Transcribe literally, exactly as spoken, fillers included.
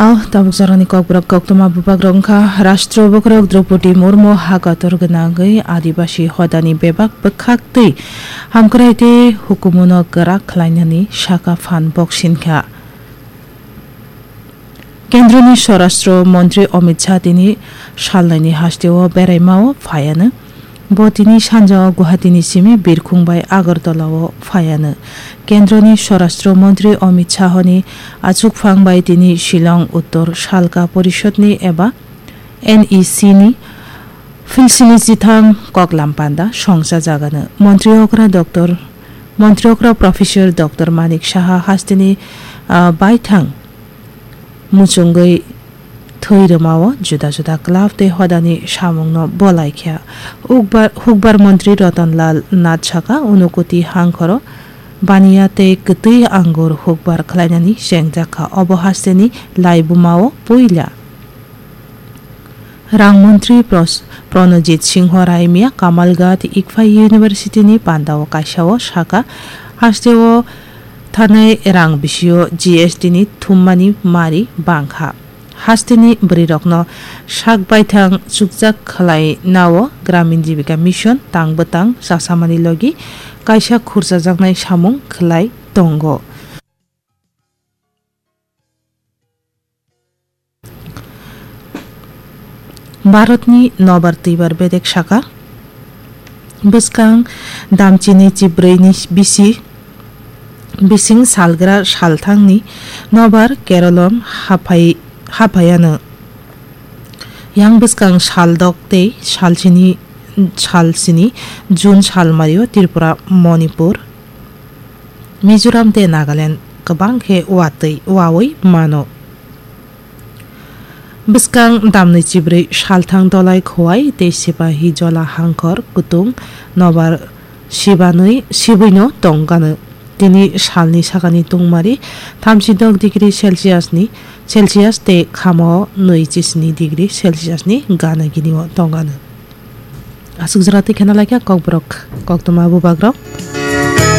Ao tabuk jorani kokborok koktwma bubagrok wngkha Rashtra Bokhorok Droupadi Murmu ha kotor gwnangwi Adibasi hodani bebak bwkhak twi hamkrai tei hukumuno kwrak khlainani saka phan boksinkha. Kendroni Swarashtra Montri Amit Shah tini salnaini hasteo beraimao phaiano. Bo tini sanjao Guwahatini simi birkhung bai Agartala-o phaiano. Kendroni Swarashtra Montri Amit Shah-ni achukphang bai tini Shillong Uttor Salka Porishadni eba N E C ni philsini chitham koklam panda songchajagano. Montri okra Doctor, Montri okra Professor Doctor Manik Saha hasteni, ah, baithang muchungwi thwi rwmao juda juda club tei hodani samungno bolaikha. Hukbar, hukbar montri Ratan Lal Nath saka, Unakoti hangkhoro baniya tei kwtwi angur hukbar khlainani chengjakha. Obo hasteni laibumao puila. Rang montri Pros-, Pranajit Singho Raimia Kamalghat Iqfa University ni pandao kaisao saka, hasteo thanai rang bisio G S T ni thummani mari bangkha. Hasteni bwrwirokno sak baithang chukjak khlai nao Gramin Jibika Mission tang bwtang chasamani logi kaisa khurchajaknai samung khlai tongo. Bharatni nobar twibar bedek saka, bwskang damchini chibrwini bisi, bising salgra salthangni nobar Keralom haphai-, haphaiano. Yang bwskang saldok tei salsini, salsini June salmario Tripura, Manipur, Mizoram tei Nagaland kwbang khe watwi, wawi mano. Bwskang damni chibrwi salthang dolai khowai tei sipahi jola hangkhor kutung nobar sibanwi, sibwino tongkano. Tini salni sakani tungmari thamsidok degree Celsius ni, Celsius tei khamo nwi chisni degree Celsius ni gana gini o tongkano. Aswk jora twi khena laikha kokborok, koktwma bubagrok.